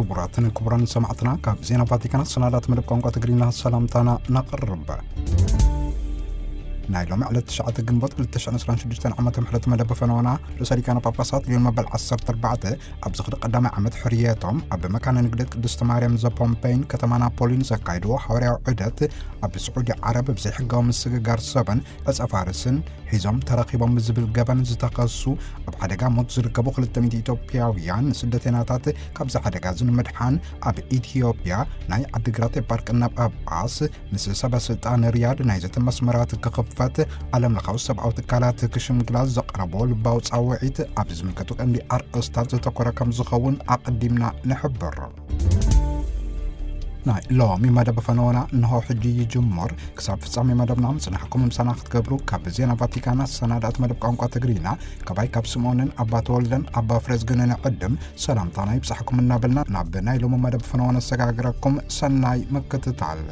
ክቡራትን ክቡራን ሰማዕትና፣ ካብ ዜና ቫቲካን ሰናዳት መደብ ቋንቋ ትግርኛ ሰላምታና ነቕርብ። ናይ ሎሚ ዕለት ትሽዓተ ግንቦት ክልተ ሽሕን ዕስራን ሽዱሽተን ዓመተ ምሕረት መደብ ፈነወና ርእሰ ሊቃነ ጳጳሳት ሊዮን መበል ዓሰርተ ኣርባዕተ ኣብ ዝኽሪ ቀዳማይ ዓመት ሕርየቶም ኣብ መካነ ንግደት ቅድስቲ ማርያም ዘፖምፔይን ከተማ ናፖሊን ዘካይድዎ ሓዋርያዊ ዑደት፣ ኣብ ስዑዲ ዓረብ ብዘይሕጋዊ ምስግጋር ሰብን ዕጸ ፋርስን ሒዞም ተረኺቦም ብዝብል ገበን ዝተኸሱ ኣብ ሓደጋ ሞት ዝርከቡ ክልተ ሚእቲ ኢትዮጵያውያን ስደተኛታት ካብዚ ሓደጋ እዚ ንምድሓን ኣብ ኢትዮጵያ ናይ ዓዲግራት ኤፓርክና ጳጳስ ምስ ሰበ ስልጣን ሪያድ ናይ ዘተ መስመራት ክኽፈት ዓለም ለኻዊ ሰብኣዊ ትካላት ክሽምግላ ዘቕረቦ ልባዊ ጻውዒት ኣብ ዝምልከቱ ቀንዲ ኣርእስታት ዘተኮረ ከም ዝኸውን ኣቐዲምና ንሕብር። ናይ ሎሚ መደብ ፈነወና እንሆ ሕጂ ይጅምር። ክሳብ ፍጻሜ መደብና ምጽናሕኩም ምሳና ክትገብሩ ካብ ዜና ቫቲካን ኣሰናዳእቲ መደብ ቋንቋ ትግርኛ፣ ካባይ ካብ ስምኦንን ኣባ ተወልደን ኣባ ፍሬዝግንን ዕድም ሰላምታና ይብጻሕኩም እናበልና፣ ናብ ናይ ሎሚ መደብ ፈነወ ነሰጋግረኩም። ሰናይ ምክትታል።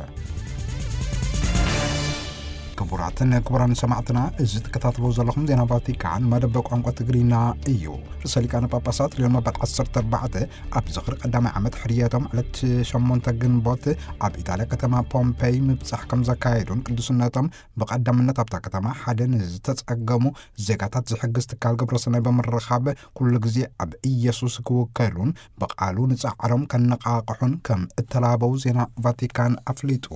ክቡራትን ክቡራን ሰማዕትና፣ እዚ ትከታተልዎ ዘለኹም ዜና ቫቲካን መደብ ቋንቋ ትግርኛ እዩ። ርእሰ ሊቃነ ጳጳሳት ሊዮን መበል ዓሰርተ ኣርባዕተ ኣብ ዝኽሪ ቀዳማይ ዓመት ሕርየቶም ዕለት ሸሞንተ ግንቦት ኣብ ኢጣልያ ከተማ ፖምፔይ ምብጻሕ ከም ዘካየዱን ቅዱስነቶም ብቐዳምነት ኣብታ ከተማ ሓደ ንዝተጸገሙ ዜጋታት ዝሕግዝ ትካል ግብረሰናይ ብምርኻብ ኩሉ ግዜ ኣብ ኢየሱስ ክውከሉን ብቓሉ ንጻዕሮም ከነቓቕሑን ከም እተላበው ዜና ቫቲካን ኣፍሊጡ።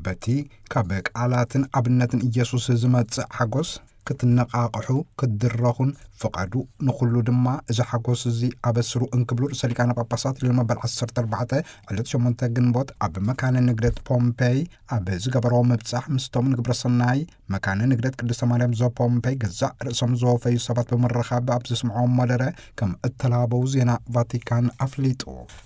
በቲ ካብ ቃላትን ኣብነትን ኢየሱስ ዝመጽእ ሓጎስ ክትነቓቕሑ፣ ክትድረኹን ፍቐዱ፣ ንኹሉ ድማ እዚ ሓጎስ እዚ ኣበስሩ እንክብሉ ርእሰ ሊቃነ ጳጳሳት ሊዮን መበል ዓሰርተ ኣርባዕተ ዕለት ሸሞንተ ግንቦት ኣብ መካነ ንግደት ፖምፔይ ኣብ ዝገበርዎ ምብጻሕ ምስቶም ንግብረ ሰናይ መካነ ንግደት ቅድስተ ማርያም ዘፖምፔይ ገዛእ ርእሶም ዝወፈዩ ሰባት ብምርኻብ ኣብ ዘስምዕዎ መደረ ከም እተላበው ዜና ቫቲካን ኣፍሊጡ።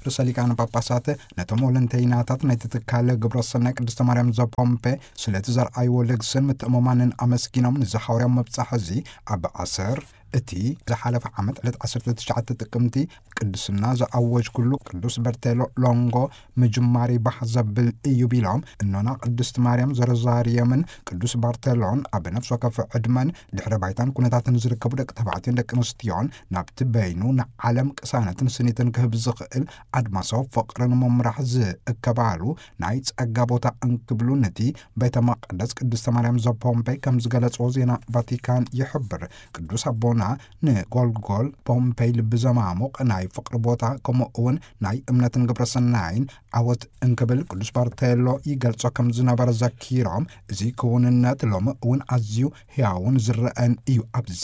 ርእሰ ሊቃነ ጳጳሳት ነቶም ወለንተይናታት ናይቲ ትካል ግብረ ሰናይ ቅድስተ ማርያም ዘፖምፔ ስለቲ ዘርኣይዎ ልግስን ምትእምማንን ኣመስጊኖም፣ ንዚ ሓዋርያዊ ምብጻሕ እዚ ኣብ ኣሰር እቲ ዝሓለፈ ዓመት ዕለት ዓሰርተ ትሽዓተ ጥቅምቲ ቅድስና ዝኣወጅኩሉ ቅዱስ በርቴሎ ሎንጎ ምጅማር ይባህ ዘብል እዩ ቢሎም፣ እኖና ቅድስት ማርያም ዘሮዛርየምን ቅዱስ ባርቴሎን ኣብ ነፍሲ ወከፍ ዕድመን ድሕረ ባይታን ኩነታትን ዝርከቡ ደቂ ተባዕትዮን ደቂ ኣንስትዮን ናብቲ በይኑ ንዓለም ቅሳነትን ስኒትን ክህብ ዝኽእል ኣድማሳዊ ፍቕርን ምምራሕ ዝእከባሉ ናይ ጸጋ ቦታ እንክብሉ ነቲ ቤተ መቕደስ ቅድስተ ማርያም ዘፖምፔይ ከም ዝገለጽዎ ዜና ቫቲካን ይሕብር። ቅዱስ ኣቦና ንጎልጎል ፖምፔይ ልቢ ዘማሙቕ ናይ ፍቕሪ ቦታ፣ ከምኡ እውን ናይ እምነትን ግብረ ሰናይን ዓወት እንክብል ቅዱስ ባርቴሎ ይገልጾ ከም ዝነበረ ዘኪሮም፣ እዚ ክውንነት ሎሚ እውን ኣዝዩ ሕያውን ዝረአን እዩ። ኣብዚ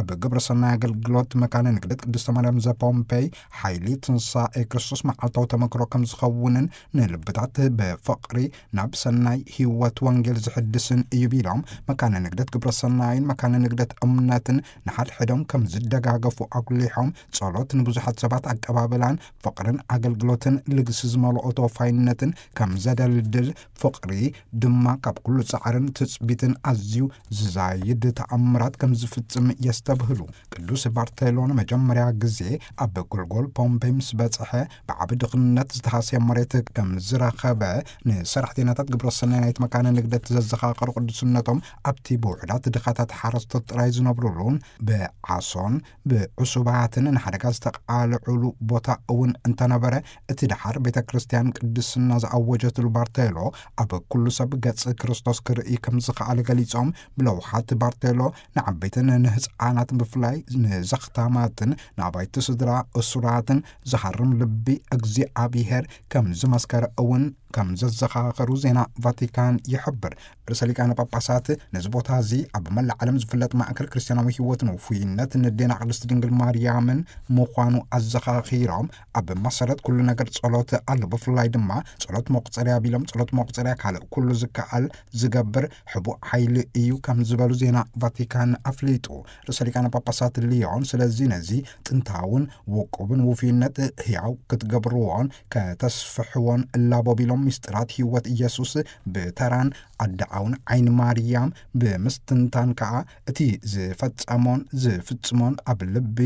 ኣብ ግብረ ሰናይ ኣገልግሎት መካነ ንግደት ቅድስተ ማርያም ዘፖምፔይ ሓይሊ ትንሳኤ ክርስቶስ መዓልታዊ ተመክሮ ከም ዝኸውንን ንልብታት ብፍቕሪ ናብ ሰናይ ህይወት ወንጌል ዝሕድስን እዩ ቢሎም፣ መካነ ንግደት ግብረ ሰናይን መካነ ንግደት እምነትን ንሓድሕዶም ከም ዝደጋገፉ ኣጉሊሖም፣ ጸሎት ንብዙሓት ሰባት ኣቀባብላን ፍቕርን ኣገልግሎትን ልግሲ ዝመልኦ ተወፋይነትን ከም ዘደልድል፣ ፍቕሪ ድማ ካብ ኩሉ ጻዕርን ትጽቢትን ኣዝዩ ዝዛይድ ተኣምራት ከም ዝፍጽም የስተብህሉ። ቅዱስ ባርቴሎ ንመጀመርያ ግዜ ኣብ ጎልጎል ፖምፔይ ምስ በጽሐ፣ ብዓቢ ድኽነት ዝተሃስየ መሬት ከም ዝረኸበ ንሰራሕተኛታት ግብረ ሰናይ ናይቲ መካነ ንግደት ዘዘኻኸሩ ቅዱስነቶም፣ ኣብቲ ብውሑዳት ድኻታት ሓረስቶት ጥራይ ዝነብሩሉን ብዓሶን ብዕሱባትን ንሓደጋ ዝተቓልዑሉ ቦታ እውን እንተነበረ፣ እቲ ደሓር ቤተ ክርስቲያን ቅድስና ዝኣወጀትሉ ባርቴሎ ኣብ ኩሉ ሰብ ገጽ ክርስቶስ ክርኢ ከም ዝኸኣለ ገሊጾም፣ ብለውሃት ባርቴሎ ንዓበይትን ንህፃናትን ብፍላይ ንዘኽታማትን ንኣባይቲ ስድራ እሱራትን ዝሃርም ልቢ እግዚኣብሔር ከም ዝመስከረ እውን ከም ዘዘኻኸሩ ዜና ቫቲካን ይሕብር። ርእሰ ሊቃነ ጳጳሳት ነዚ ቦታ እዚ ኣብ መላእ ዓለም ዝፍለጥ ማእከል ክርስትያናዊ ህይወትን ውፉይነት ንዴና ቅድስቲ ድንግል ማርያምን ምዃኑ ኣዘኻኺሮም፣ ኣብ መሰረት ኩሉ ነገር ጸሎት ኣሎ፣ ብፍላይ ድማ ጸሎት መቁጸርያ ቢሎም፣ ጸሎት መቁጸርያ ካልእ ኩሉ ዝከኣል ዝገብር ሕቡእ ሓይሊ እዩ ከም ዝበሉ ዜና ቫቲካን ኣፍሊጡ። ርእሰ ሊቃነ ጳጳሳት ሊዮን ስለዚ ነዚ ጥንታውን ውቁብን ውፉይነት ህያው ክትገብርዎን ከተስፍሕዎን እላቦ ቢሎም፣ ምስጢራት ህይወት ኢየሱስ ብተራን ኣደዓውን ዓይኒ ማርያም ብምስትንታን ከኣ እቲ ዝፈጸሞን ዝፍጽሞን ኣብ ልቢ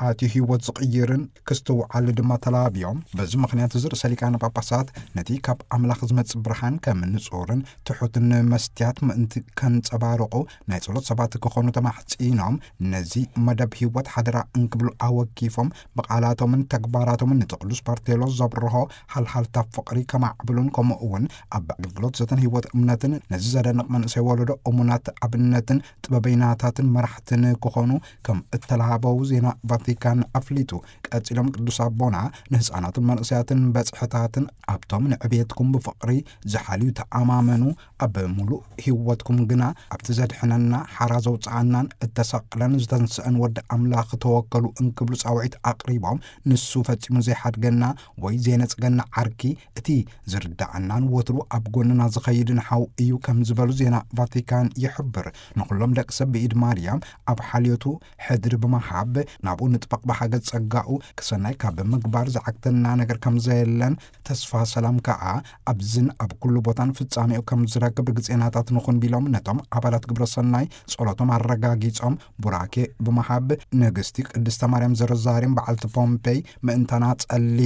ኣትዩ ህይወት ዝቕይርን ክስትውዓል ድማ ተላብዮም። በዚ ምኽንያት እዚ ርእሰ ሊቃነ ጳጳሳት ነቲ ካብ ኣምላኽ ዝመጽእ ብርሃን ከም ንጹርን ትሑትን መስትያት ምእንቲ ከንጸባርቑ ናይ ጸሎት ሰባት ክኾኑ ተማሕጺኖም፣ ነዚ መደብ ህይወት ሓደራ እንክብሉ ኣወኪፎም ብቓላቶምን ተግባራቶምን ነቲ ቅዱስ ባርቴሎ ዘብርሆ ሃልሃልታ ፍቕሪ ከማዕብሉን ከምኡ እውን ኣብ ኣገልግሎት ዘተን ህይወት እምነትን ነዚ ዘደንቕ መንእሰይ ወለዶ እሙናት ኣብነትን ጥበበይናታትን መራሕትን ክኾኑ ከም እተላሃበው ዜና ቫቲካን ኣፍሊጡ። ቀጺሎም ቅዱስ ኣቦና ንህፃናትን መንእሰያትን በጽሕታትን ኣብቶም ንዕብየትኩም ብፍቕሪ ዝሓልዩ ተኣማመኑ፣ ኣብ ሙሉእ ህይወትኩም ግና ኣብቲ ዘድሕነና ሓራ ዘውፅኣናን እተሰቕለን ዝተንስአን ወዲ ኣምላኽ ተወከሉ እንክብሉ ጻውዒት ኣቕሪቦም፣ ንሱ ፈጺሙ ዘይሓድገና ወይ ዘይነጽገና ዓርኪ፣ እቲ ዝርዳኣናን ወትሩ ኣብ ጎንና ዝኸይድን ሓው እዩ ከም ዝበሉ ዜና ቫቲካን ይሕብር። ንኹሎም ደቂ ሰብ ብኢድ ማርያም ኣብ ሓልዮቱ ሕድሪ ብምሃብ ናብኡ ንጥበቕ ብሓገዝ ጸጋኡ ክሰናይ ካብ ምግባር ዝዓግተና ነገር ከም ዘየለን ተስፋ ሰላም ከኣ ኣብዝን ኣብ ኩሉ ቦታን ፍጻሜኡ ከም ዝረክብ ርግጼናታት ንኹን ቢሎም ነቶም ኣባላት ግብረ ሰናይ ጸሎቶም ኣረጋጊጾም ቡራኬ ብምሃብ ንግስቲ ቅድስተ ማርያም ዘሮዛሪም በዓልቲ ፖምፔይ ምእንታና ጸሊ፣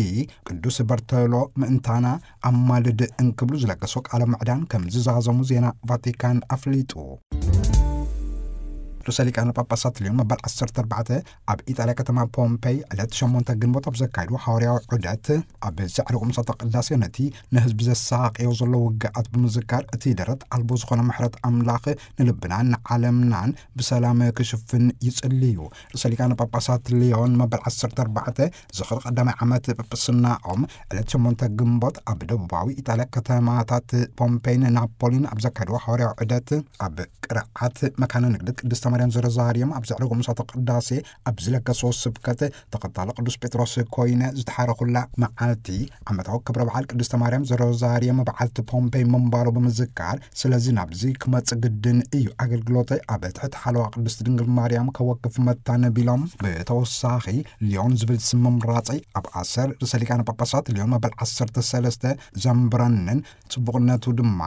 ቅዱስ በርተሎ ምእንታና ኣማልድ እንክብሉ ዝለገሶ ቃለ ምዕዳን ከም ዝዛዘሙ ዜና ቫቲካን ኣፍሊጡ። ርእሰ ሊቃነ ጳጳሳት ሊዮን መበል ዓሰርተ ኣርባዕተ ኣብ ኢጣልያ ከተማ ፖምፔይ ዕለት ሸሞንተ ግንቦት ኣብ ዘካይድዎ ሓዋርያዊ ዑደት ኣብ ዘዕረጉ ምሳተ ቅዳሴ ነቲ ንህዝቢ ዘሳቕዮ ዘሎ ውግኣት ብምዝካር እቲ ደረት ኣልቦ ዝኾነ ምሕረት ኣምላኽ ንልብናን ንዓለምናን ብሰላም ክሽፍን ይጽልዩ። ርእሰ ሊቃነ ጳጳሳት ሊዮን መበል ዓሰርተ ኣርባዕተ ዝኽሪ ቀዳማይ ዓመት ጵጵስናኦም ዕለት ሸሞንተ ግንቦት ኣብ ደቡባዊ ኢጣልያ ከተማታት ፖምፔይን ናፖሊን ኣብ ዘካይድዎ ሓዋርያዊ ዑደት ኣብ ቅርዓት መካነ ንግደት ቅድስተ ማርያም ዘሮዛሪየም ኣብ ዘዕረጉ ምሳተ ቅዳሴ ኣብ ዝለገስዎ ስብከት ተኸታሊ ቅዱስ ጴጥሮስ ኮይነ ዝተሓረኹላ መዓልቲ ዓመታዊ ክብረ በዓል ቅድስተ ማርያም ዘሮዛሪየም በዓልቲ ፖምፔይ ምንባሩ ብምዝካር፣ ስለዚ ናብዚ ክመጽእ ግድን እዩ፣ ኣገልግሎተይ ኣብ ትሕቲ ሓለዋ ቅድስቲ ድንግል ማርያም ከወክፍ መታነ ቢሎም፣ ብተወሳኺ ሊዮን ዝብል ስም ምምራጸይ ኣብ ኣሰር ርእሰ ሊቃነ ጳጳሳት ሊዮን መበል ዓሰርተ ሰለስተ ዘንብረንን ጽቡቕነቱ ድማ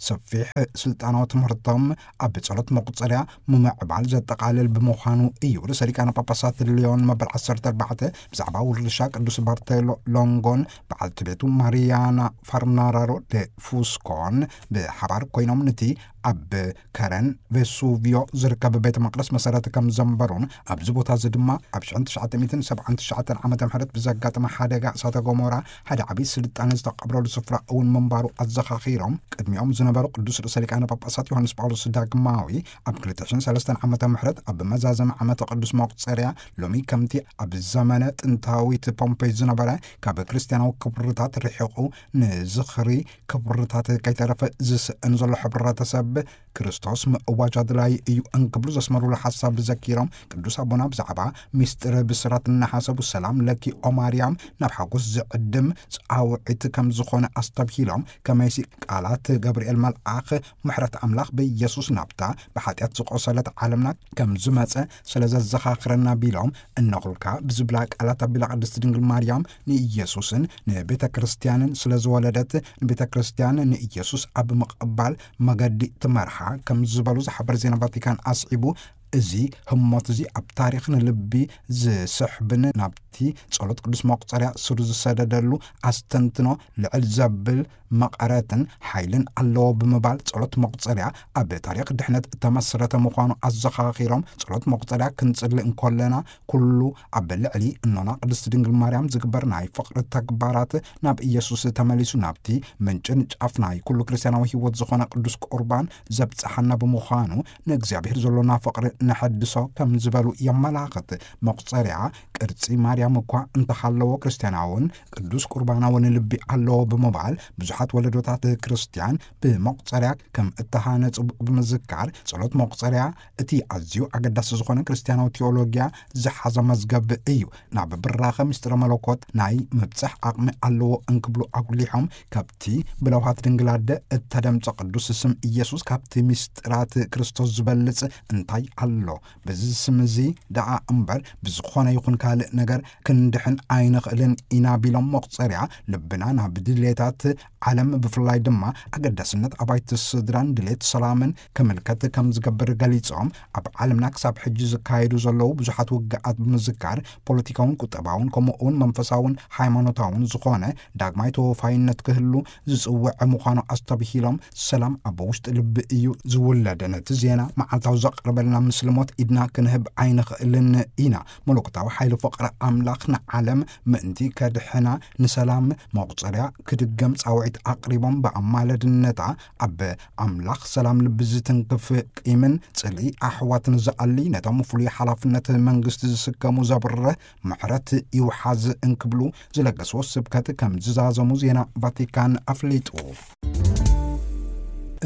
ሰፊሕ ስልጣናዊ ትምህርቶም ኣብ ጸሎት መቁጸርያ ምምዕባል ዘጠቓልል ብምዃኑ እዩ። ርእሰ ሊቃነ ጳጳሳት ሊዮን መበል ዓሰርተ ኣርባዕተ ብዛዕባ ውርሻ ቅዱስ ባርቴሎ ሎንጎን በዓልቲ ቤቱ ማሪያና ፋርናራሮ ደ ፉስኮን ብሓባር ኮይኖም ነቲ ኣብ ከረን ቬሱቪዮ ዝርከብ ቤተ መቅደስ መሰረት ከም ዘንበሩን ኣብዚ ቦታ እዚ ድማ ኣብ ሽሕን ትሽዓተ ሚእትን ሰብዓን ትሽዓተን ዓመተ ምህረት ብዘጋጠመ ሓደጋ እሳተ ገሞራ ሓደ ዓብዪ ስልጣነ ዝተቐብረሉ ስፍራ እውን ምንባሩ ኣዘኻኺሮም፣ ቅድሚኦም ዝነበሩ ቅዱስ ርእሰ ሊቃነ ጳጳሳት ዮሃንስ ጳውሎስ ዳግማዊ ኣብ ክልተ ሽሕን ሰለስተን ዓመተ ምህረት ኣብ መዛዘሚ ዓመተ ቅዱስ መቁጸርያ ሎሚ ከምቲ ኣብ ዘመነ ጥንታዊት ፖምፔይ ዝነበረ ካብ ክርስትያናዊ ክብርታት ርሒቑ ንዝኽሪ ክብርታት ከይተረፈ ዝስእን ዘሎ ሕብረተሰብ ክርስቶስ ምእዋጅ ኣድላዪ እዩ እንክብሉ ዘስመሩሉ ሓሳብ ዘኪሮም፣ ቅዱስ ኣቦና ብዛዕባ ሚስጥር ብስራት እናሓሰቡ ሰላም ለኪ ኦ ማርያም ናብ ሓጎስ ዝዕድም ጻውዒት ከም ዝኾነ ኣስተብሂሎም፣ ከመይሲ ቃላት ገብርኤል መልኣኽ ምሕረት ኣምላኽ ብኢየሱስ ናብታ ብሓጢኣት ዝቆሰለት ዓለምና ከም ዝመጸ ስለ ዘዘኻኽረና ቢሎም፣ እነኹልካ ብዝብላ ቃላት ኣቢላ ቅድስቲ ድንግል ማርያም ንኢየሱስን ንቤተ ክርስቲያንን ስለ ዝወለደት ንቤተ ክርስቲያን ንኢየሱስ ኣብ ምቕባል መገዲ ትመርሓ ከም ዝበሉ ዝሓበር ዜና ቫቲካን ኣስዒቡ፣ እዚ ህሞት እዚ ኣብ ታሪኽ ንልቢ ዝስሕብን ናብቲ ጸሎት ቅዱስ መቁጸርያ ስሩ ዝሰደደሉ ኣስተንትኖ ልዕል ዘብል መቐረትን ሓይልን ኣለዎ ብምባል ጸሎት መቁጸርያ ኣብ ታሪኽ ድሕነት እተመስረተ ምዃኑ ኣዘኻኺሮም፣ ጸሎት መቁጸርያ ክንጽሊ እንኮለና ኩሉ ኣብ ልዕሊ እኖና ቅድስቲ ድንግል ማርያም ዝግበር ናይ ፍቕሪ ተግባራት ናብ ኢየሱስ ተመሊሱ ናብቲ ምንጭን ጫፍ ናይ ኩሉ ክርስትያናዊ ህይወት ዝኾነ ቅዱስ ቁርባን ዘብጽሓና ብምዃኑ ንእግዚኣብሔር ዘሎና ፍቕሪ ነሐድሶ ከም ዝበሉ የመላኽት። መቁጸርያ ቅርጺ ማርያም እኳ እንተሃለዎ ክርስትያናውን ቅዱስ ቁርባናውን ልቢ ኣለዎ ብምባል ብዙሓት ወለዶታት ክርስትያን ብመቁጸርያ ከም እተሃነጹ ብምዝካር ጸሎት መቁጸርያ እቲ ኣዝዩ ኣገዳሲ ዝኾነ ክርስትያናዊ ቴዎሎጊያ ዝሓዘ መዝገብ እዩ። ናብ ብራኸ ምስጢረ መለኮት ናይ ምብጻሕ ዓቕሚ ኣለዎ እንክብሉ ኣጉሊሖም፣ ካብቲ ብለውሃት ድንግል ኣደ እተደምጸ ቅዱስ ስም ኢየሱስ ካብቲ ምስጢራት ክርስቶስ ዝበልጽ እንታይ ኣሎ? ኣሎ። በዚ ስም እዚ ደኣ እምበር ብዝኾነ ይኹን ካልእ ነገር ክንድሕን ኣይንኽእልን ኢና ቢሎም፣ መቑጸርያ ልብና ናብ ድሌታት ዓለም፣ ብፍላይ ድማ ኣገዳስነት ኣባይቲ ስድራን ድሌት ሰላምን ክምልከት ከም ዝገብር ገሊጾም፣ ኣብ ዓለምና ክሳብ ሕጂ ዝካየዱ ዘለዉ ብዙሓት ውግኣት ብምዝካር፣ ፖለቲካውን ቁጠባውን ከምኡ እውን መንፈሳውን ሃይማኖታውን ዝኾነ ዳግማይ ተወፋይነት ክህሉ ዝጽውዕ ምዃኑ ኣስተብሂሎም፣ ሰላም ኣብ ውሽጢ ልቢ እዩ ዝውለድ። ነቲ ዜና መዓልታዊ ዘቕርበልና ምስልሞት ኢድና ክንህብ ኣይንኽእልን ኢና። መለኮታዊ ሓይሊ ፍቕሪ ኣምላኽ ንዓለም ምእንቲ ከድሕና ንሰላም መቑጸርያ ክድገም ጻውዒት ኣቕሪቦም፣ ብኣማለድነታ ኣብ ኣምላኽ ሰላም ልቢ ዝትንክፍ፣ ቂምን ጽልኢ ኣሕዋትን ዝኣሊ፣ ነቶም ፍሉይ ሓላፍነት መንግስቲ ዝስከሙ ዘብርህ ምሕረት ይውሓዝ እንክብሉ ዝለገስዎ ስብከት ከም ዝዛዘሙ ዜና ቫቲካን ኣፍሊጡ።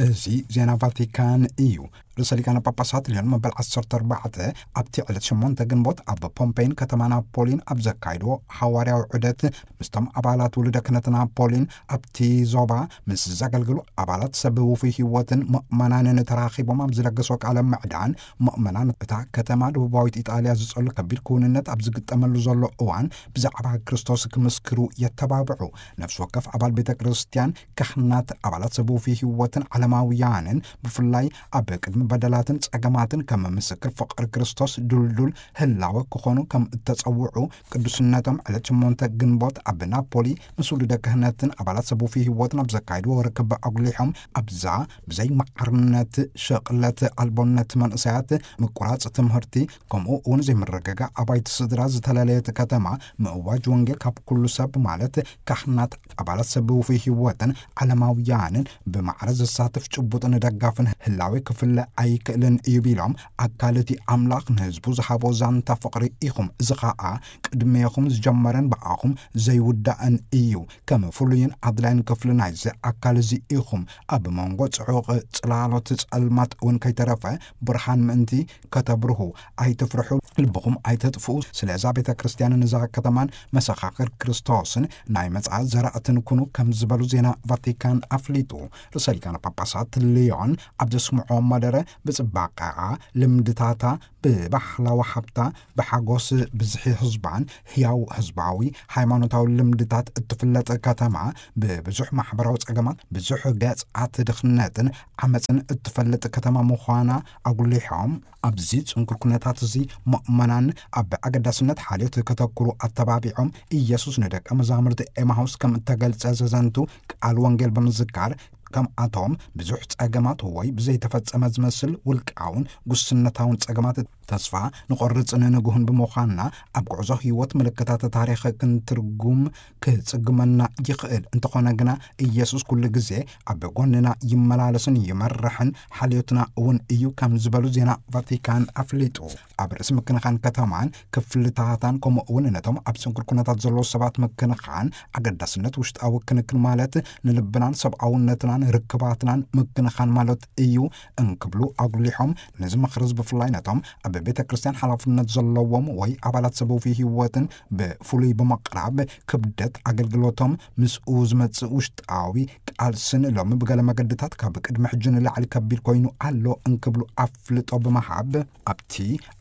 እዚ ዜና ቫቲካን እዩ። ርእሰ ሊቃነ ጳጳሳት ሊዮን መበል ዓሰርተ ኣርባዕተ ኣብቲ ዕለት ሸሞንተ ግንቦት ኣብ ፖምፔይን ከተማ ናፖሊን ኣብ ዘካይድዎ ሓዋርያዊ ዑደት ምስቶም ኣባላት ውሉደ ክህነት ናፖሊን ኣብቲ ዞባ ምስ ዘገልግሉ ኣባላት ሰብ ውፉይ ህይወትን ምእመናንን ተራኺቦም ኣብ ዝለገሶ ቃለ ምዕዳን፣ ምእመናን እታ ከተማ ደቡባዊት ኢጣልያ ዝጸሉ ከቢድ ክውንነት ኣብ ዝግጠመሉ ዘሎ እዋን ብዛዕባ ክርስቶስ ክምስክሩ የተባብዑ። ነፍሲ ወከፍ ኣባል ቤተ ክርስቲያን፣ ካህናት፣ ኣባላት ሰብ ውፉይ ህይወትን ዓለማውያንን ብፍላይ ኣብ ቅድሚ በደላትን ጸገማትን ከም ምስክር ፍቕሪ ክርስቶስ ድልዱል ህላወ ክኾኑ ከም እተጸውዑ ቅዱስነቶም ዕለት ሸሞንተ ግንቦት ኣብ ናፖሊ ምስ ውሉደ ክህነትን ኣባላት ሰብ ውፉይ ህይወትን ኣብ ዘካይድዎ ርክብ ኣጉሊሖም፣ ኣብዛ ብዘይ ማዕርነት፣ ሸቕለት ኣልቦነት መንእሰያት፣ ምቁራጽ ትምህርቲ፣ ከምኡ እውን ዘይምርግጋእ ኣባይቲ ስድራ ዝተለለየት ከተማ ምእዋጅ ወንጌል ካብ ኩሉ ሰብ ማለት ካህናት፣ ኣባላት ሰብ ውፉይ ህይወትን ዓለማውያንን ብማዕረ ዘሳትፍ ጭቡጥን ደጋፍን ህላዌ ክፍለ ኣይክእልን እዩ ቢሎም፣ ኣካል እቲ ኣምላኽ ንህዝቡ ዝሃቦ ዛንታ ፍቕሪ ኢኹም። እዚ ኸኣ ቅድሜኹም ዝጀመረን ብኣኹም ዘይውዳእን እዩ። ከም ፍሉይን ኣድላይን ክፍሊ ናይዚ ኣካል እዚ ኢኹም። ኣብ መንጎ ጽዑቕ ጽላሎት ጸልማት እውን ከይተረፈ ብርሃን ምእንቲ ከተብርሁ ኣይትፍርሑ፣ ልብኹም ኣይተጥፍኡ። ስለዛ ቤተ ክርስቲያንን እዛ ከተማን መሰኻኽር ክርስቶስን ናይ መጻኢ ዘራእትን ኩኑ ከም ዝበሉ ዜና ቫቲካን ኣፍሊጡ። ርእሰ ሊቃነ ጳጳሳት ሊዮን ኣብ ዘስምዖ መደረ ብጽባቐኣ፣ ልምድታታ፣ ብባህላዊ ሃብታ፣ ብሓጎስ ብዝሒ ህዝባን ህያው ህዝባዊ ሃይማኖታዊ ልምድታት እትፍለጥ ከተማ፣ ብብዙሕ ማሕበራዊ ጸገማት፣ ብዙሕ ገጻት ድኽነትን ዓመጽን እትፈልጥ ከተማ ምዃና ኣጉሊሖም፣ ኣብዚ ጽንኩር ኩነታት እዚ ምእመናን ኣብ ኣገዳስነት ሓልዮት ከተኩሩ ኣተባቢዖም፣ ኢየሱስ ንደቀ መዛሙርቲ ኤማሁስ ከም እተገልጸ ዘዘንቱ ቃል ወንጌል ብምዝካር፣ ከምኣቶም ብዙሕ ጸገማት ወይ ብዘይተፈጸመ ዝመስል ውልቃውን ጉስነታውን ጸገማት ተስፋ ንቖርጽን ንግሁን ብምዃንና፣ ኣብ ጉዕዞ ህይወት ምልክታት ታሪኽ ክንትርጉም ክጽግመና ይኽእል። እንተኾነ ግና፣ ኢየሱስ ኩሉ ግዜ ኣብ ጎንና ይመላለስን ይመርሕን ሓልዮትና እውን እዩ ከም ዝበሉ ዜና ቫቲካን ኣፍሊጡ። ኣብ ርእሲ ምክንኻን ከተማን ክፍልታታን፣ ከምኡ እውን ነቶም ኣብ ስንኩል ኩነታት ዘለዉ ሰባት ምክንኻን፣ ኣገዳስነት ውሽጣዊ ክንክን ማለት ንልብናን ሰብኣውነትናን ርክባትናን ምክንኻን ማለት እዩ እንክብሉ ኣጉሊሖም፣ ነዚ ምኽሪ እዚ ብፍላይ ነቶም ኣብ ቤተ ክርስቲያን ሓላፍነት ዘለዎም ወይ ኣባላት ሰብ ውፉይ ህይወትን ብፍሉይ ብምቕራብ፣ ክብደት ኣገልግሎቶም ምስኡ ዝመጽእ ውሽጣዊ ቃልስን ሎሚ ብገለ መገድታት ካብ ቅድሚ ሕጂ ንላዕሊ ከቢድ ኮይኑ ኣሎ እንክብሉ ኣፍልጦ ብምሃብ፣ ኣብቲ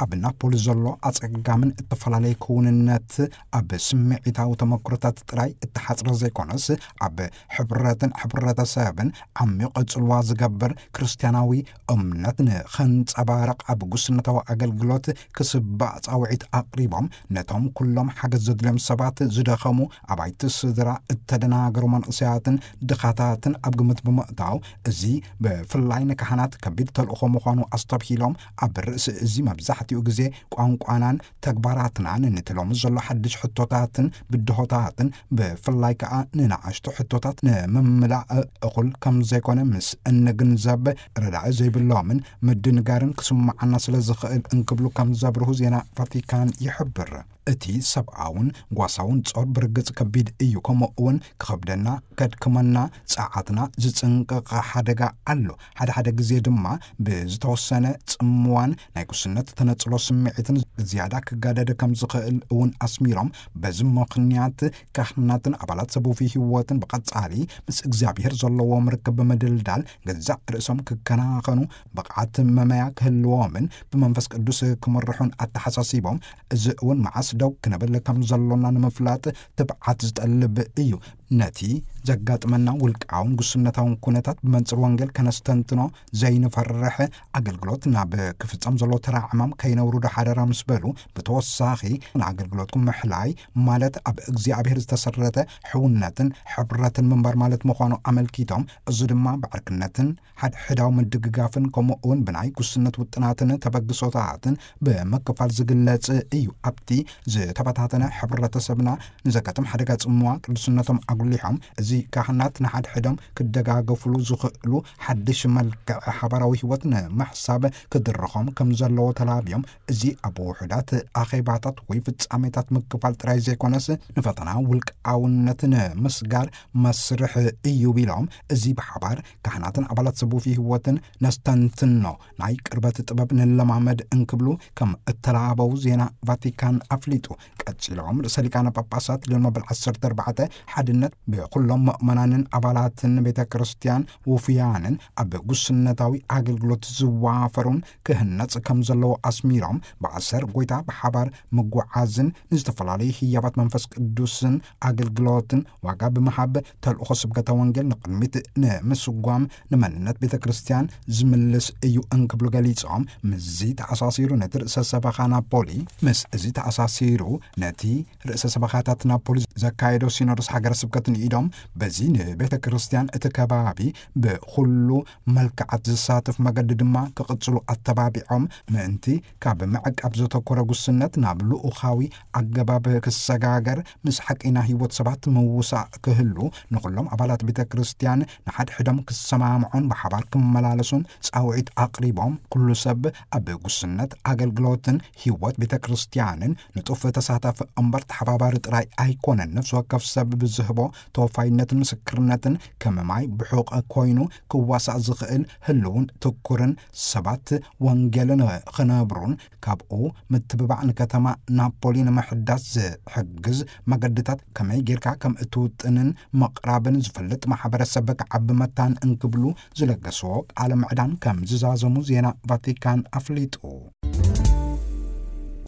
ኣብ ናፖሊ ዘሎ ኣጸጋምን እተፈላለየ ክውንነት ኣብ ስምዒታዊ ተመክሮታት ጥራይ እተሓጽረ ዘይኮነስ፣ ኣብ ሕብረትን ሕብረተሰብን ዓሚቕ ጽልዋ ዝገብር ክርስትያናዊ እምነት ንኸንጸባርቕ ኣብ ጉስነታዊ ኣገልግሎት ክስባእ ጻውዒት ኣቕሪቦም፣ ነቶም ኩሎም ሓገዝ ዘድልዮም ሰባት፣ ዝደኸሙ ኣባይቲ ስድራ፣ እተደናገሩ መንእሰያትን ድኻታትን ኣብ ግምት ብምእታው፣ እዚ ብፍላይ ንካህናት ከቢድ ተልእኾ ምዃኑ ኣስተብሂሎም፣ ኣብ ርእሲ እዚ መብዛሕትኡ ግዜ ቋንቋናን ተግባራትናን ነቲ ሎሚ ዘሎ ሓድሽ ሕቶታትን ብድሆታትን፣ ብፍላይ ከኣ ንንኣሽቱ ሕቶታት ንምምላእ እኹል ከም ዘይኮነ ምስ እንግንዘብ፣ ረዳኢ ዘይብሎምን ምድንጋርን ክስምዓና ስለ ዝኽእል እንክብሉ ከም ዘብርሁ ዜና ቫቲካን ይሕብር። እቲ ሰብኣውን ጓሳውን ጾር ብርግጽ ከቢድ እዩ። ከምኡ እውን ክኸብደና፣ ከድክመና፣ ጸዓትና ዝጽንቅቕ ሓደጋ ኣሎ። ሓደ ሓደ ግዜ ድማ ብዝተወሰነ ጽምዋን ናይ ጉስነት ተነጽሎ ስምዒትን ዝያዳ ክጋደድ ከም ዝኽእል እውን ኣስሚሮም፣ በዚ ምኽንያት ካህናትን ኣባላት ሰቡፊ ህይወትን ብቐጻሊ ምስ እግዚኣብሔር ዘለዎም ርክብ ብምድልዳል ገዛእ ርእሶም ክከናኸኑ ብቕዓት መመያ ክህልዎምን ብመንፈስ ቅዱስ ክምርሑን ኣተሓሳሲቦም፣ እዚ እውን መዓስ ደው ክንብል ከም ዘሎና ንምፍላጥ ትብዓት ዝጠልብ እዩ። ነቲ ዘጋጥመና ውልቃውን ጉስነታውን ኩነታት ብመንጽር ወንጌል ከነስተንትኖ ዘይንፈርሕ፣ ኣገልግሎት ናብ ክፍጸም ዘሎ ተራ ዕማም ከይነውርዶ ሓደራ ምስ በሉ፣ ብተወሳኺ ንኣገልግሎትኩም ምሕላይ ማለት ኣብ እግዚኣብሔር ዝተሰረተ ሕውነትን ሕብረትን ምንባር ማለት ምዃኑ ኣመልኪቶም፣ እዚ ድማ ብዕርክነትን ሓድሕዳዊ ምድግጋፍን ከምኡ እውን ብናይ ጉስነት ውጥናትን ተበግሶታትን ብምክፋል ዝግለጽ እዩ። ኣብቲ ዝተበታተነ ሕብረተሰብና ንዘጋጥም ሓደጋ ጽምዋ ቅዱስነቶም ኣጉሊሖም፣ እዚ ካህናት ንሓድሕዶም ክደጋገፉሉ ዝኽእሉ ሓድሽ መልክዕ ሓባራዊ ህይወት ንምሕሳብ ክድርኾም ከም ዘለዎ ተላብዮም፣ እዚ ኣብ ውሑዳት ኣኼባታት ወይ ፍጻሜታት ምክፋል ጥራይ ዘይኮነስ ንፈተና ውልቃውነት ንምስጋር መስርሕ እዩ ቢሎም፣ እዚ ብሓባር ካህናትን ኣባላት ሰቡፊ ህይወትን ነስተንትኖ ናይ ቅርበት ጥበብ ንለማመድ እንክብሉ ከም እተላበው ዜና ቫቲካን ኣፍሊጡ። ቀጺሎም ርእሰ ሊቃነ ጳጳሳት ሊዮን መበል ዓሰርተ ኣርባዕተ ሓድነት ብኩሎም ምእመናንን ኣባላትን ቤተ ክርስቲያን ውፉያንን ኣብ ጉስነታዊ ኣገልግሎት ዝዋፈሩን ክህነጽ ከም ዘለዎ ኣስሚሮም፣ ብኣሰር ጎይታ ብሓባር ምጉዓዝን ንዝተፈላለዩ ህያባት መንፈስ ቅዱስን ኣገልግሎትን ዋጋ ብምሃብ ተልእኾ ስብከተ ወንጌል ንቕድሚት ንምስጓም ንመንነት ቤተ ክርስቲያን ዝምልስ እዩ እንክብሉ ገሊጾም፣ ምስዚ ተኣሳሲሩ ነቲ ርእሰ ሰበኻ ናፖሊ፣ ምስ እዚ ተኣሳሲሩ ነቲ ርእሰ ሰበኻታት ናፖሊ ዘካየዶ ሲኖዶስ ሃገረ ስብከት ንኢዶም፣ በዚ ንቤተ ክርስቲያን እቲ ከባቢ ብኹሉ መልክዓት ዝሳተፍ መገዲ ድማ ክቕጽሉ ኣተባቢዖም፣ ምእንቲ ካብ ምዕቃብ ዘተኮረ ጉስነት ናብ ልኡኻዊ ኣገባብ ክሰጋገር፣ ምስ ሓቀይና ህይወት ሰባት ምውሳእ ክህሉ፣ ንኹሎም ኣባላት ቤተ ክርስቲያን ንሓድሕዶም ክሰማምዑን ብሓባር ክመላለሱን ጻውዒት ኣቕሪቦም፣ ኩሉ ሰብ ኣብ ጉስነት ኣገልግሎትን ህይወት ቤተ ክርስቲያንን ንጡፍ ተሳታፊ እምበር ተሓባባሪ ጥራይ ኣይኮነን። ነፍሲ ወከፍ ሰብ ብዝህቦ ተወፋይነትን ምስክርነትን ከም ማይ ብሑቕ ኮይኑ ክዋሳእ ዝኽእል ህልውን ትኩርን ሰባት ወንጌል ንኽነብሩን ካብኡ ምትብባዕ ንከተማ ናፖሊ ንምሕዳስ ዝሕግዝ መገድታት ከመይ ጌርካ ከም እትውጥንን ምቕራብን ዝፈልጥ ማሕበረሰብ ክዓቢ መታን እንክብሉ ዝለገስዎ ቃለ ምዕዳን ከም ዝዛዘሙ ዜና ቫቲካን ኣፍሊጡ።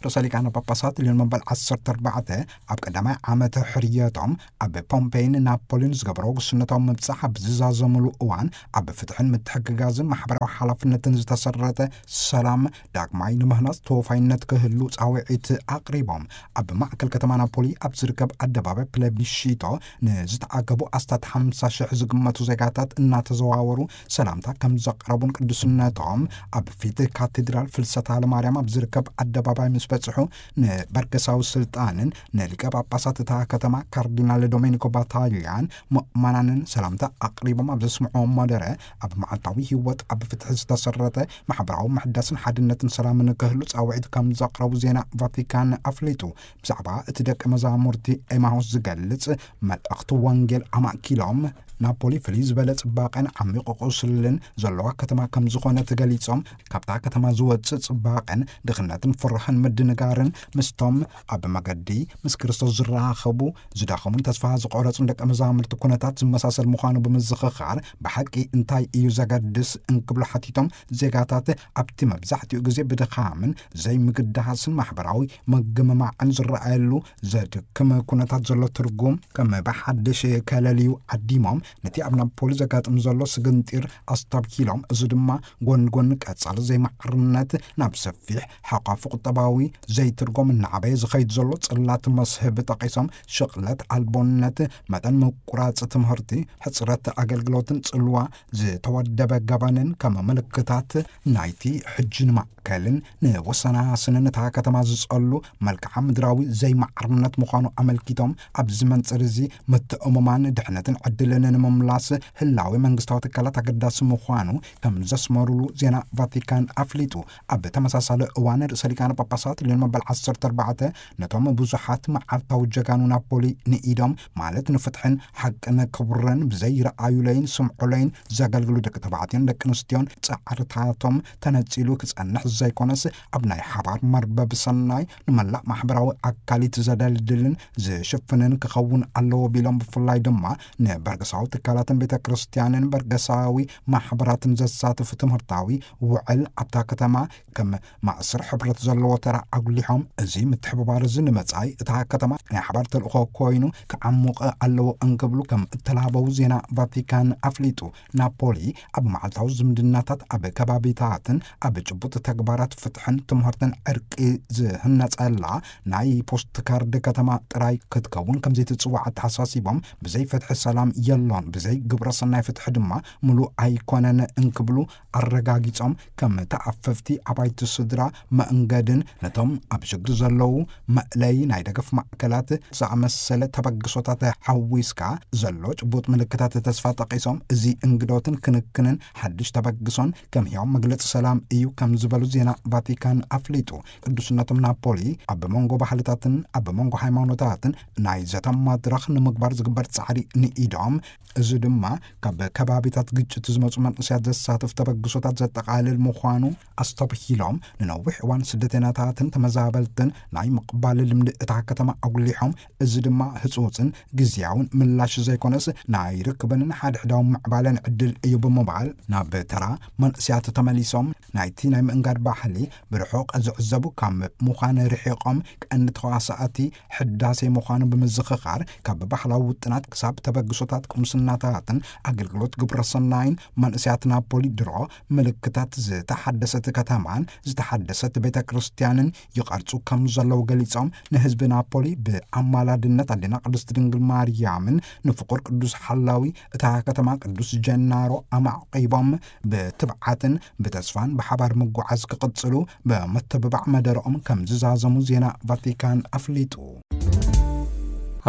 ርእሰ ሊቃነ ጳጳሳት ሊዮን መበል ዓሰርተ ኣርባዕተ ኣብ ቀዳማይ ዓመተ ሕርየቶም ኣብ ፖምፔይን ናፖሊን ዝገበሮ ጉስነታዊ ምብጻሕ ኣብ ዝዛዘሙሉ እዋን፣ ኣብ ፍትሕን ምትሕግጋዝን ማሕበራዊ ሓላፍነትን ዝተሰረተ ሰላም ዳግማይ ንምህናጽ ተወፋይነት ክህሉ ጻውዒት ኣቕሪቦም። ኣብ ማእከል ከተማ ናፖሊ ኣብ ዝርከብ ኣደባባይ ፕለቢሺቶ ንዝተኣከቡ ኣስታት ሓምሳ ሽሕ ዝግመቱ ዜጋታት እናተዘዋወሩ ሰላምታ ከም ዘቕረቡን ቅዱስነቶም ኣብ ፊት ካቴድራል ፍልሰታ ለማርያም ኣብ ዝርከብ ኣደባባይ ምስ በጽሑ ንበርገሳዊ ስልጣንን ንሊቀ ጳጳሳት እታ ከተማ ካርዲናል ዶሜኒኮ ባታሊያን ምእመናንን ሰላምታ ኣቕሪቦም ኣብ ዘስምዕዎ መደረ፣ ኣብ መዓልታዊ ህይወት ኣብ ፍትሒ ዝተሰረተ ማሕበራዊ ምሕዳስን ሓድነትን ሰላምን ክህሉ ጻውዒት ከም ዘቕረቡ ዜና ቫቲካን ኣፍሊጡ። ብዛዕባ እቲ ደቀ መዛሙርቲ ኤማሁስ ዝገልጽ መልእኽቲ ወንጌል ኣማእኪሎም፣ ናፖሊ ፍልይ ዝበለ ጽባቐን ዓሚቕ ቁስልን ዘለዋ ከተማ ከም ዝኾነት ገሊጾም፣ ካብታ ከተማ ዝወጽእ ጽባቐን ድኽነትን ፍርህን ምድንጋርን ምስቶም ኣብ መገዲ ምስ ክርስቶስ ዝራኸቡ ዝደኸሙን ተስፋ ዝቖረጹን ደቀ መዛሙርቲ ኩነታት ዝመሳሰል ምዃኑ ብምዝኽኻር፣ ብሓቂ እንታይ እዩ ዘገድስ እንክብሉ ሓቲቶም፣ ዜጋታት ኣብቲ መብዛሕትኡ ግዜ ብድኻምን ዘይምግዳስን ማሕበራዊ ምግምማዕን ዝረኣየሉ ዘድክም ኩነታት ዘሎ ትርጉም ከም ብሓድሽ ከለልዩ ዓዲሞም፣ ነቲ ኣብ ናፖሊ ዘጋጥም ዘሎ ስግንጢር ኣስተብሂሎም፣ እዚ ድማ ጎን ጎን ቀጻሊ ዘይማዕርነት ናብ ሰፊሕ ሓቋፊ ቁጠባዊ ዘይትርጎም እናዓበየ ዝኸይድ ዘሎ ጽላት መስህብ ጠቒሶም፣ ሽቕለት ኣልቦነት፣ መጠን ምቁራጽ ትምህርቲ፣ ሕጽረት ኣገልግሎትን ጽልዋ ዝተወደበ ገበንን ከም ምልክታት ናይቲ ሕጂ ንማእከልን ንወሰናስንን እታ ከተማ ዝጸሉ መልክዓ ምድራዊ ዘይማዕርነት ምዃኑ ኣመልኪቶም፣ ኣብዚ መንጽር እዚ ምትእምማን ድሕነትን ዕድልን ንምምላስ ህላዌ መንግስታዊ ትካላት ኣገዳሲ ምዃኑ ከም ዘስመሩሉ ዜና ቫቲካን ኣፍሊጡ። ኣብ ተመሳሳሊ እዋን ርእሰ ሊቃነ ጳጳሳት ትልዮን መበል ዓሰርተ ኣርባዕተ ነቶም ብዙሓት መዓልታዊ ጀጋኑ ናፖሊ ንኢዶም፣ ማለት ንፍትሕን ሓቅን ክብርን ብዘይ ረኣዩለይን ስምዑለይን ዘገልግሉ ደቂ ተባዕትዮን ደቂ ኣንስትዮን ጻዕርታቶም ተነጺሉ ክጸንሕ ዘይኮነስ፣ ኣብ ናይ ሓባር መርበብ ሰናይ ንመላእ ማሕበራዊ ኣካሊት ዘደልድልን ዝሽፍንን ክኸውን ኣለዎ ቢሎም፣ ብፍላይ ድማ ንበርገሳዊ ትካላትን ቤተ ክርስቲያንን በርገሳዊ ማሕበራትን ዘሳትፍ ትምህርታዊ ውዕል ኣብታ ከተማ ከም ማእስር ሕብረት ዘለዎ ተራ ኣጉሊሖም፣ እዚ ምትሕብባር እዚ ንመጻኢ እታ ከተማ ናይ ሓባር ተልእኾ ኮይኑ ክዓሙቕ ኣለዎ እንክብሉ ከም እተላበው ዜና ቫቲካን ኣፍሊጡ። ናፖሊ ኣብ መዓልታዊ ዝምድናታት፣ ኣብ ከባቢታትን ኣብ ጭቡጥ ተግባራት ፍትሕን ትምህርትን ዕርቂ ዝህነጸላ ናይ ፖስት ካርድ ከተማ ጥራይ ክትከውን ከም ዘይትጽዋዕ ኣተሓሳሲቦም፣ ብዘይ ፍትሒ ሰላም የሎን፣ ብዘይ ግብረ ሰናይ ፍትሒ ድማ ምሉእ ኣይኮነን እንክብሉ ኣረጋጊጾም፣ ከም ተኣፈፍቲ ኣባይቲ ስድራ መእንገድን ነቶም ኣብ ሽግር ዘለዉ መእለይ ናይ ደገፍ ማእከላት ዝኣመሰለ ተበግሶታት ሓዊስካ ዘሎ ጭቡጥ ምልክታት ተስፋ ጠቒሶም፣ እዚ እንግዶትን ክንክንን ሓድሽ ተበግሶን ከም ህያው መግለጺ ሰላም እዩ ከም ዝበሉ ዜና ቫቲካን ኣፍሊጡ። ቅዱስነቶም ናፖሊ ኣብ መንጎ ባህልታትን ኣብ መንጎ ሃይማኖታትን ናይ ዘተ መድረኽ ንምግባር ዝግበር ጻዕሪ ንኢዶም፣ እዚ ድማ ካብ ከባቢታት ግጭት ዝመጹ መንእሰያት ዘሳትፍ ተበግሶታት ዘጠቓልል ምዃኑ ኣስተብሂሎም፣ ንነዊሕ እዋን ስደተኛታትን ተመዛበልትን ናይ ምቕባል ልምዲ እታ ከተማ ኣጉሊሖም፣ እዚ ድማ ህጹጽን ግዝያውን ምላሽ ዘይኮነስ ናይ ርክብን ሓድሕዳዊ ምዕባለን ዕድል እዩ ብምባል፣ ናብ ተራ መንእሰያት ተመሊሶም ናይቲ ናይ ምእንጋድ ባህሊ ብርሑቕ ዝዕዘቡ ካብ ምዃን ርሒቖም፣ ቀንዲ ተዋሳእቲ ሕዳሴ ምዃኑ ብምዝኽኻር፣ ካብ ባህላዊ ውጥናት ክሳብ ተበግሶታት ቁምስናታትን ኣገልግሎት ግብረ ሰናይን መንእሰያት ናፖሊ ድሮ ምልክታት ዝተሓደሰት ከተማን ዝተሓደሰት ቤተ ክርስቲያንን ይቐርጹ ከም ዘለዉ ገሊጾም፣ ንህዝቢ ናፖሊ ብኣማላድነት ኣዴና ቅድስት ድንግል ማርያምን ንፍቑር ቅዱስ ሓላዊ እታ ከተማ ቅዱስ ጀናሮ ኣማዕቂቦም ብትብዓትን ብተስፋን ብሓባር ምጉዓዝ ክቕጽሉ ብምትብባዕ መደረኦም ከም ዝዛዘሙ ዜና ቫቲካን ኣፍሊጡ።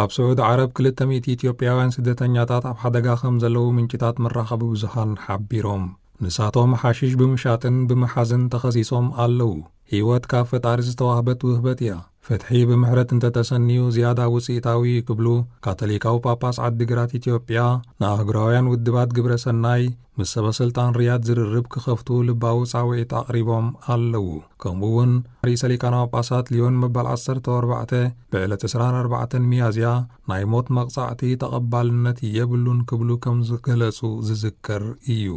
ኣብ ስዑድ ዓረብ ክልተ ሚእቲ ኢትዮጵያውያን ስደተኛታት ኣብ ሓደጋ ከም ዘለዉ ምንጭታት መራኸቢ ብዙሃን ሓቢሮም። ንሳቶም ሓሽሽ ብምሻጥን ብምሓዝን ተኸሲሶም ኣለዉ። ህይወት ካብ ፈጣሪ ዝተዋህበት ውህበት እያ። ፍትሒ ብምሕረት እንተተሰንዩ ዝያዳ ውጽኢታዊ እዩ ክብሉ ካቶሊካዊ ጳጳስ ዓዲግራት ኢትዮጵያ ንኣህጉራውያን ውድባት ግብረ ሰናይ ምስ ሰበ ስልጣን ሪያድ ዝርርብ ክኸፍቱ ልባዊ ጻውዒት ኣቕሪቦም ኣለዉ። ከምኡ እውን ርእሰ ሊቃነ ጳጳሳት ሊዮን መበል ዓሰርተ ኣርባዕተ ብዕለት ዕስራን ኣርባዕተን ሚያዝያ ናይ ሞት መቕጻዕቲ ተቐባልነት የብሉን ክብሉ ከም ዝገለጹ ዝዝከር እዩ።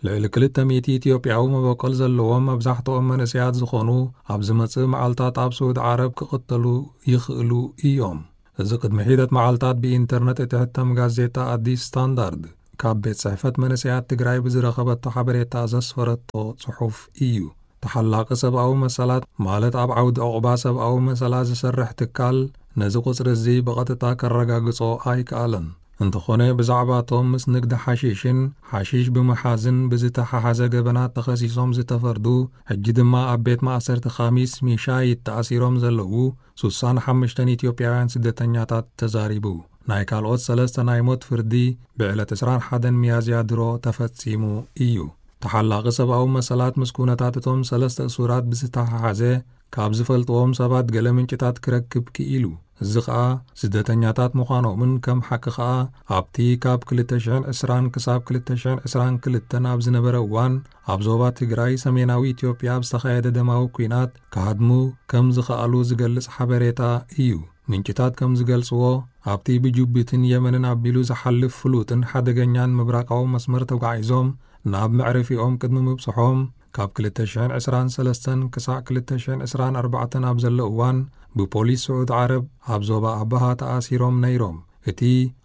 ልዕሊ ክልተ ሚእቲ ኢትዮጵያዊ መበቆል ዘለዎም መብዛሕትኦም መንእሰያት ዝኾኑ ኣብ ዝመጽእ መዓልታት ኣብ ስዑዲ ዓረብ ክቕተሉ ይኽእሉ እዮም። እዚ ቅድሚ ሒደት መዓልታት ብኢንተርነት እትሕተም ጋዜጣ ኣዲስ ስታንዳርድ ካብ ቤት ጽሕፈት መንእሰያት ትግራይ ብዝረኸበቶ ሓበሬታ ዘስፈረቶ ጽሑፍ እዩ። ተሓላቒ ሰብኣዊ መሰላት፣ ማለት ኣብ ዓውዲ ዕቑባ ሰብኣዊ መሰላት ዝሰርሕ ትካል፣ ነዚ ቁጽሪ እዚ ብቐጥታ ከረጋግጾ ኣይከኣለን። እንተኾነ፣ ብዛዕባቶም ምስ ንግዲ ሓሺሽን ሓሺሽ ብምሓዝን ብዝተሓሓዘ ገበናት ተኸሲሶም ዝተፈርዱ፣ ሕጂ ድማ ኣብ ቤት ማእሰርቲ ካሚስ ሚሻይት ተኣሲሮም ዘለዉ ሱሳን ሓሙሽተን ኢትዮጵያውያን ስደተኛታት ተዛሪቡ። ናይ ካልኦት ሰለስተ ናይ ሞት ፍርዲ ብዕለት ዕስራን ሓደን ሚያዝያ ድሮ ተፈጺሙ እዩ። ተሓላቒ ሰብኣዊ መሰላት ምስ ኩነታት እቶም ሰለስተ እሱራት ብዝተሓሓዘ ካብ ዝፈልጥዎም ሰባት ገለ ምንጭታት ክረክብ ክኢሉ። እዚ ኸኣ ስደተኛታት ምዃኖምን ከም ሓቂ ኸኣ ኣብቲ ካብ ክልተ ሽሕን ዕስራን ክሳብ ክልተ ሽሕን ዕስራን ክልተን ኣብ ዝነበረ እዋን ኣብ ዞባ ትግራይ ሰሜናዊ ኢትዮጵያ ኣብ ዝተኻየደ ደማዊ ኲናት ክሃድሙ ከም ዝኸኣሉ ዝገልጽ ሓበሬታ እዩ። ምንጭታት ከም ዝገልጽዎ፣ ኣብቲ ብጅቡትን የመንን ኣቢሉ ዝሓልፍ ፍሉጥን ሓደገኛን ምብራቃዊ መስመር ተጓዒዞም ናብ መዕረፊኦም ቅድሚ ምብጽሖም፣ ካብ ክልተ ሽሕን ዕስራን ሰለስተን ክሳዕ ክልተ ሽሕን ዕስራን ኣርባዕተን ኣብ ዘሎ እዋን፣ ብፖሊስ ስዑድ ዓረብ ኣብ ዞባ ኣባሃ ተኣሲሮም ነይሮም። እቲ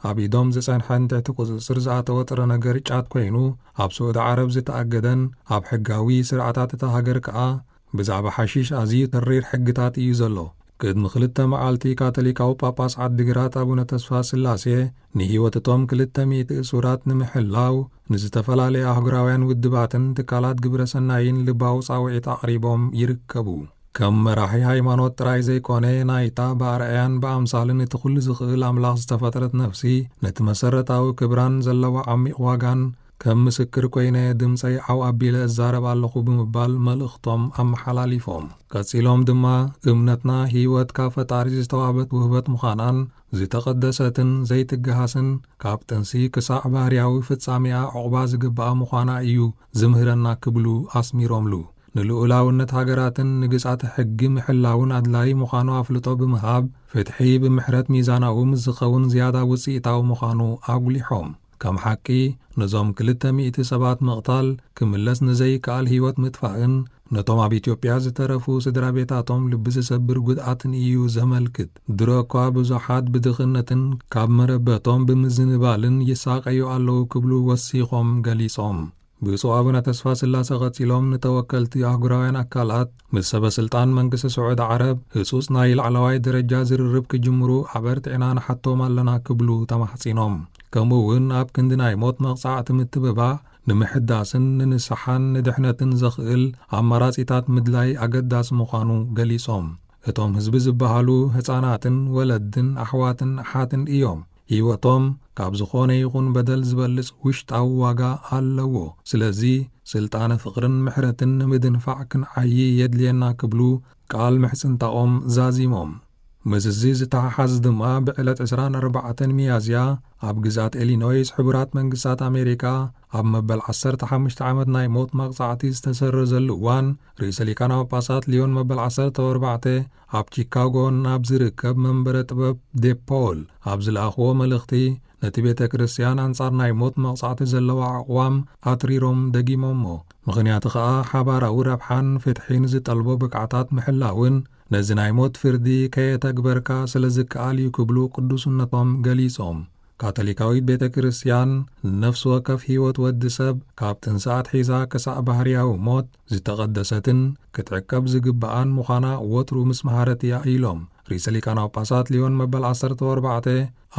ኣብ ኢዶም ዝጸንሐን ትሕቲ ቁጽጽር ዝኣተወ ጥረ ነገር ጫት ኮይኑ፣ ኣብ ስዑድ ዓረብ ዝተኣገደን ኣብ ሕጋዊ ስርዓታት እታ ሃገር ከኣ ብዛዕባ ሓሺሽ ኣዝዩ ተሪር ሕግታት እዩ ዘሎ። ቅድሚ ክልተ መዓልቲ ካቶሊካዊ ጳጳስ ዓዲግራት ኣቡነ ተስፋ ስላሴ ንህይወት እቶም ክልተ ሚእቲ እሱራት ንምሕላው ንዝተፈላለየ ኣህጉራውያን ውድባትን ትካላት ግብረ ሰናይን ልባዊ ጻውዒት ኣቕሪቦም ይርከቡ። ከም መራሒ ሃይማኖት ጥራይ ዘይኮነ፣ ናይታ ብኣርኣያን ብኣምሳልን እቲ ኩሉ ዝኽእል ኣምላኽ ዝተፈጥረት ነፍሲ፣ ነቲ መሰረታዊ ክብራን ዘለዎ ዓሚቕ ዋጋን ከም ምስክር ኮይነ ድምፀይ ዓው ኣቢለ እዛረብ ኣለኹ ብምባል መልእኽቶም ኣመሓላሊፎም። ቀፂሎም ድማ እምነትና ህይወት ካብ ፈጣሪ ዝተዋህበት ውህበት ምዃናን ዝተቐደሰትን ዘይትገሃስን ካብ ጥንሲ ክሳዕ ባህርያዊ ፍጻሜኣ ዕቑባ ዝግብኣ ምዃና እዩ ዝምህረና ክብሉ ኣስሚሮምሉ። ንልኡላውነት ሃገራትን ንግዛተ ሕጊ ምሕላውን ኣድላዪ ምዃኑ ኣፍልጦ ብምሃብ፣ ፍትሒ ብምሕረት ሚዛናዊ ምስ ዝኸውን ዝያዳ ውፅኢታዊ ምዃኑ ኣጉሊሖም። ከም ሓቂ፣ ነዞም ክልተ ሚእቲ ሰባት ምቕታል ክምለስ ንዘይከኣል ህይወት ምጥፋእን ነቶም ኣብ ኢትዮጵያ ዝተረፉ ስድራ ቤታቶም ልቢ ዝሰብር ጉድኣትን እዩ ዘመልክት። ድሮ እኳ ብዙሓት ብድኽነትን ካብ መረበቶም ብምዝንባልን ይሳቐዩ ኣለዉ ክብሉ ወሲኾም ገሊጾም። ብፁዕ ኣቡነ ተስፋ ስላሰ ቀጺሎም ንተወከልቲ ኣህጉራውያን ኣካላት ምስ ሰበ ስልጣን መንግስቲ ስዑዲ ዓረብ ህጹጽ ናይ ላዕለዋይ ደረጃ ዝርርብ ክጅምሩ ኣበርቲዕና ንሓቶም ኣለና ክብሉ ተማሕጺኖም። ከምኡ እውን ኣብ ክንዲ ናይ ሞት መቕጻዕቲ ምትብባዕ ንምሕዳስን ንንስሓን ንድሕነትን ዘኽእል ኣማራጺታት ምድላይ ኣገዳሲ ምዃኑ ገሊጾም። እቶም ህዝቢ ዝበሃሉ ህጻናትን ወለድን ኣሕዋትን ኣሓትን እዮም። ህይወቶም ካብ ዝኾነ ይኹን በደል ዝበልጽ ውሽጣዊ ዋጋ ኣለዎ። ስለዚ ስልጣነ ፍቕርን ምሕረትን ንምድንፋዕ ክንዓዪ የድልየና ክብሉ ቃል ምሕጽንታኦም ዛዚሞም። ምስዚ ዝተሓሓዝ ድማ ብዕለት ዕስራን ኣርባዕተን ሚያዝያ ኣብ ግዛት ኢሊኖይስ ሕቡራት መንግስታት ኣሜሪካ ኣብ መበል ዓሰርተ ሓሙሽተ ዓመት ናይ ሞት መቕጻዕቲ ዝተሰረዘሉ እዋን፣ ርእሰ ሊቃነ ጳጳሳት ሊዮን መበል ዓሰርተ ኣርባዕተ ኣብ ቺካጎ ናብ ዝርከብ መንበረ ጥበብ ዴፖል ኣብ ዝለኣኽዎ መልእኽቲ፣ ነቲ ቤተ ክርስቲያን ኣንጻር ናይ ሞት መቕጻዕቲ ዘለዋ ኣቕዋም ኣትሪሮም ደጊሞሞ። ምኽንያቱ ኸኣ ሓባራዊ ረብሓን ፍትሒን ዝጠልቦ ብቕዓታት ምሕላውን ነዚ ናይ ሞት ፍርዲ ከየተግበርካ ስለ ዝከኣል እዩ ክብሉ ቅዱስነቶም ገሊጾም። ካቶሊካዊት ቤተ ክርስቲያን ንነፍሲ ወከፍ ህይወት ወዲ ሰብ ካብ ጥንሲ ኣትሒዛ ክሳዕ ባህርያዊ ሞት ዝተቐደሰትን ክትዕቀብ ዝግብኣን ምዃና ወትሩ ምስ መሃረት እያ ኢሎም። ርእሰ ሊቃነ ጳጳሳት ሊዮን መበል ዓሰርተ ኣርባዕተ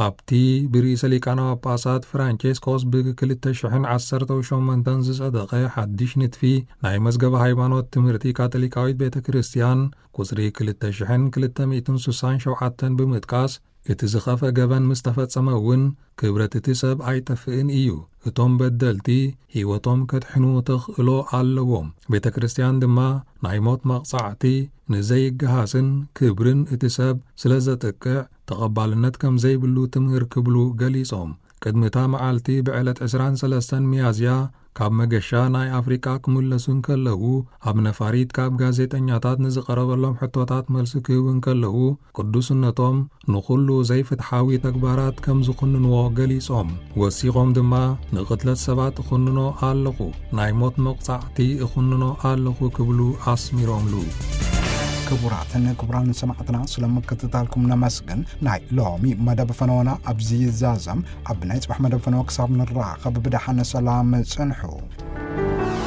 ኣብቲ ብርእሰ ሊቃነ ጳጳሳት ፍራንቼስኮስ ብ ክልተ ሽሕን ዓሰርተ ሸሞንተን ዝጸደቐ ሓድሽ ንድፊ ናይ መዝገበ ሃይማኖት ትምህርቲ ካቶሊካዊት ቤተ ክርስቲያን ቁጽሪ ክልተ ሽሕን ክልተ ሚእትን ስሳን ሸውዓተን ብምጥቃስ፣ እቲ ዝኸፍአ ገበን ምስ ተፈጸመ እውን ክብረት እቲ ሰብ ኣይጠፍእን እዩ። እቶም በደልቲ ህይወቶም ከድሕኑ ተኽእሎ ኣለዎም። ቤተ ክርስቲያን ድማ ናይ ሞት መቕጻዕቲ ንዘይገሃስን ክብርን እቲ ሰብ ስለ ዘጥቅዕ ተቐባልነት ከም ዘይብሉ ትምህር ክብሉ ገሊጾም። ቅድሚ እታ መዓልቲ ብዕለት ዕስራን ሰለስተን ሚያዝያ ካብ መገሻ ናይ ኣፍሪቃ ክምለሱ እንከለዉ ኣብ ነፋሪት ካብ ጋዜጠኛታት ንዝቐረበሎም ሕቶታት መልሲ ክህቡ እንከለዉ ቅዱስነቶም ንኹሉ ዘይፍትሓዊ ተግባራት ከም ዝኹንንዎ ገሊጾም። ወሲኾም ድማ ንቕትለት ሰባት እኹንኖ ኣለኹ፣ ናይ ሞት መቕጻዕቲ እኹንኖ ኣለኹ ክብሉ ኣስሚሮምሉ። ክቡራትን ክቡራን ሰማዕትና ስለ ምክትታልኩም ነመስግን። ናይ ሎሚ መደብ ፈነወና ኣብዚ ይዛዘም። ኣብ ናይ ጽባሕ መደብ ፈነወ ክሳብ ንራኸብ ብደሓን ሰላም ጽንሑ።